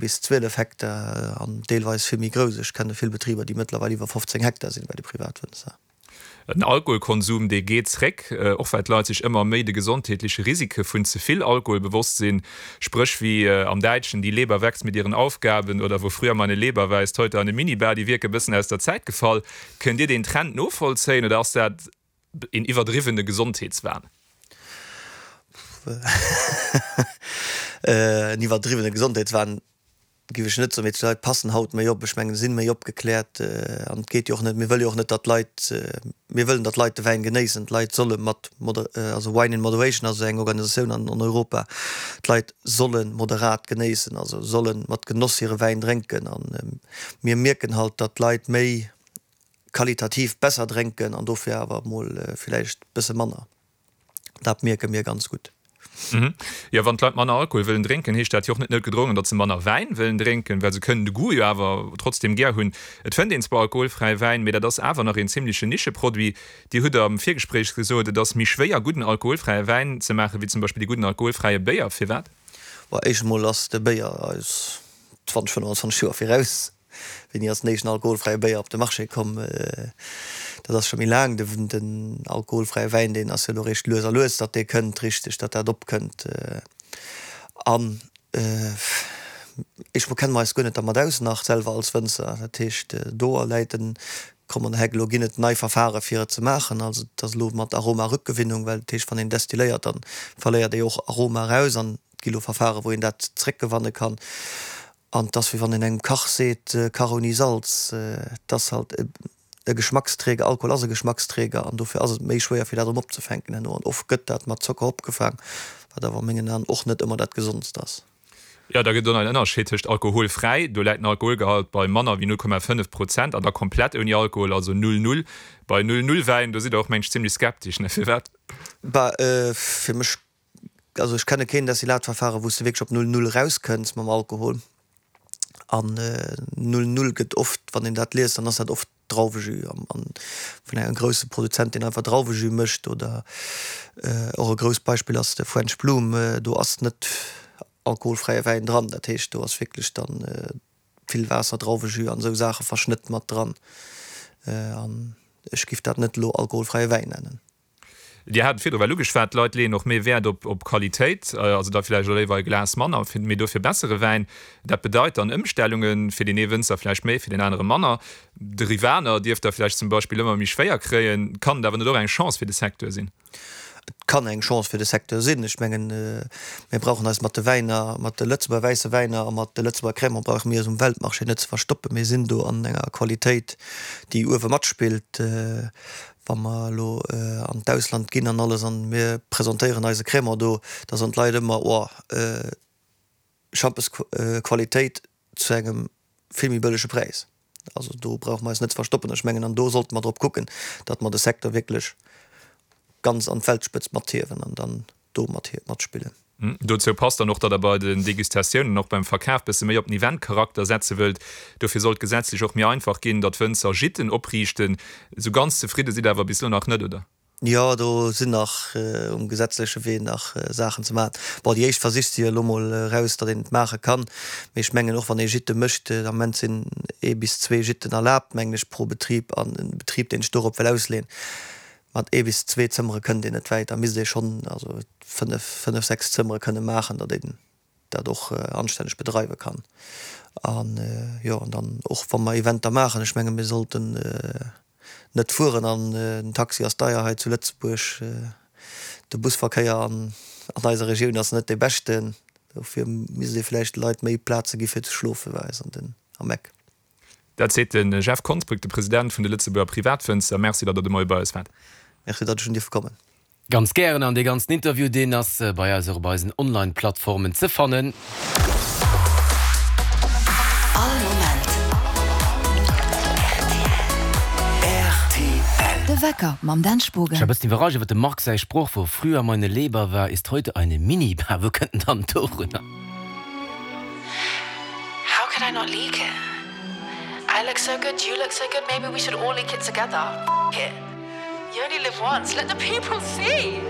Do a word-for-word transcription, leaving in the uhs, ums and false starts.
bis zwielef Hektar an deelweis vill méi grouss. Ech kenne vill Betriber, déi mëttlerweil iwwer fofzéng Hektar sinn bei de Privatwënzer. Den Alkoholkonsum, dee geet zréck, och well d'Leit sech ëmmer méi de gesondheetleche Risike vun ze vill Alkohol bewosst sinn. Spréch wéi am Däitschen Die Leber wächst mit ihren Aufgaben oder Wo früher meine Leber war, ist heute eine Minibar, déi wierke bëssen aus der Zäit gefall. Kënnt Dir deen Trend novollzéien oder ass dat een iwwerdriwwene Gesondheetswahn? En iwwerdriwwene Gesondheetswahn giff ech net soen, mee d'Leit passen haut méi op. Ech mengen, se sinn méi opgekläert an et geet jo och net, mir wëlle jo och net, datt d'Leit, mir wëllen, datt d'Leit de Wäin genéissen. D'Leit solle mat, also Wine in Moderation ass eng Organisatioun an Europa, d'Leit solle moderat genéissen, also solle mat Genoss hire Wäin drénken. An mir mierken halt, datt d'Leit méi qualitativ besser drénken an dofir awer emol villäicht bësse manner. Dat mierke mir ganz gutt. Jo, wann d'Leit manner Alkohol wëllen drénken, heescht dat jo och net noutgedrongen, datt se manner Wäin wëllen drénken, well se kënnen de Goût jo awer trotzdeem gär hunn. Et fënnt een zwar alkoholfräi Wäin, mee dat ass awer nach een zimmlechen Nischeproduit. Dir hutt am Virgespréich gesot, et ass méi schwéier gudden alkoholfräie Wäin ze maachen, wéi zum Beispill de gudden alkoholfräie Béier. Firwat? Bon, éischt emol ass de Béier eis zwanzeg, fënnwanzwanzeg Joer viraus. Wéini ass den éischten alkoholfräie Béier op de Marché komm? Dat ass scho méi laang. Den alkoholfräie Wäin, deen ass jo elo eréischt lues a lues, datt dee kënnt, richteg, datt dat opkënnt. An éischt mol kenne mer eis guer net dermat aus nach selwer als Wënzer. Dat heescht, do läit den Common Hack. Elo ginn et nei Verfare fir et ze maachen. Also et ass elo mat Aromarückgewinnung, well dat heescht, wann een destilléiert, da verléiert ee jo och Aroma eraus. An et gi elo Verfare wou een dat zréckgewanne kann. An 't ass wéi wann een engem Kach seet, Kach ouni Salz. 't ass halt e Geschmacksträger, Alkohol ass e Geschmacksträger an dofir ass et méi schwéier fir dat erëm opzefänken herno. An oft gëtt dat mat Zocker opgefaang, wat awer a mengen Aen och net ëmmer dat Gesondst ass. Jo, da gëtt et och nach en Ënnerscheed tëscht alkoholfräi, do läit den Alkoholgehalt bei manner wéi null Komma fënnef Prozent, an da komplett ouni Alkohol, also null null. Bei null null Wäin, do sidd Der och, meng ech, zimmlech skeptesch, ne? Firwat? Bah, fir mech Also ech kenne keen Destillatverfahren, wou s de wierklech op null null erauskënns mam Alkohol. An null null gëtt oft, wann een dat liest, dann ass dat oft Drauwejus an vun engem grousse Produzent, deen einfach Drauwejus mécht. Oder och e grousst Beispill ass de French Bloom, do ass net alkoholfräie Wäin dran. Dat heescht, do ass wierklech dann vill Waasser, Drauwejus an esou Saache, Verschnëtt mat dran. An ech giff dat net elo alkoholfräie Wäin nennen. Dir hat et virdru well ugeschwat, d'Leit leeën och méi Wäert op Qualitéit, also da vläicht och léiwer e Glas manner, mee dofir bessere Wäin. Dat bedeit dann Ëmstellunge fir deen ee Wënzer vläicht méi, fir deen anere manner. De Rivaner dierft da vläicht zum Beispill ëmmer méi schwéier kréien. Kann et awer net och eng Chance fir de Secteur sinn? Et kann eng Chance fir de Secteur sinn. Ech mengen, mir brauchen eis mat de Wäiner, mat de Lëtzebuerger wäisse Wäiner a mat de Lëtzebuerger Cremant brauche mir eis um Weltmarché net ze verstoppen. Mir sinn do an enger Qualitéit, déi uewe matspillt. Wa mer elo an d'Ausland ginn an alles an mir presentéieren eise Crémant do, da soen d'Leit ëmmer, Oh, Schampesqualitéit zu engem vill méi bëllege Präis. Also do brauche mer eis net ze verstoppen. Ech mengen, an do sollte mer drop kucken, datt mer de Secteur wierklech ganz an d'Weltspëtzt mathiewen an dann do matspillen. Dozou passt dann och, datt Der bei den Degustatiounen an och beim Verkaf bësse méi op den Eventcharakter setze wëllt. Dofir soll et gesetzlech och méi einfach ginn, datt Wënzer Gîten opriichten. Esou ganz zefridde sidd Der awer bis elo nach net, oder? Jo, do sinn nach um gesetzleche Wee nach Saachen ze maachen. Bon, déi éischt Versich si jo elo mol eraus, datt een et maache kann. Mee ech mengen, och wann ee Gîte mécht, den Ament sinn ee bis zwee Gîten erlaabt, mengen ech, pro Betrib. An e Betrib, deen sech dorop wëll ausleeën, Mat ee bis zwee Zëmmere kënnt een net wäit. Da misst ee schonn also fënnef, fënnef, sechs Zëmmere kënne maachen, datt een dat och anstänneg bedreiwe kann. An jo, an dann och wa mer Eventer maachen, ech menge mir sollten net fueren an den Taxi ass deier hei zu Lëtzebuerg, de Busverkéier an eiser Regioun ass net dee beschten. Dofir misst ee vläicht de Leit méi Plaze gi fir ze schlofe bei eis an den am Eck. Dat seet de Jeff Konsbrück, de President vun de Lëtzebuerger Privatwënzer. Merci, datt Der de Moie bei eis waart. Merci, datt ech hunn dierfe kommen. Ganz gären, an dee ganzen Interview, deen ass bei eis och op eisen Online-Plattformen ze fannen. All Moment rtl. De Wecker mam Dan Spogen. Ech war bëssen iwwerrascht iwwer dem Marc säi Sproch, Wo früher meine Leber war, ist heute eine Minibar. Wou kënnt en dann dorunner? How could I not leak it? I look so good, you look so good, maybe we should all leak it together. F it, you only live once, let the people see!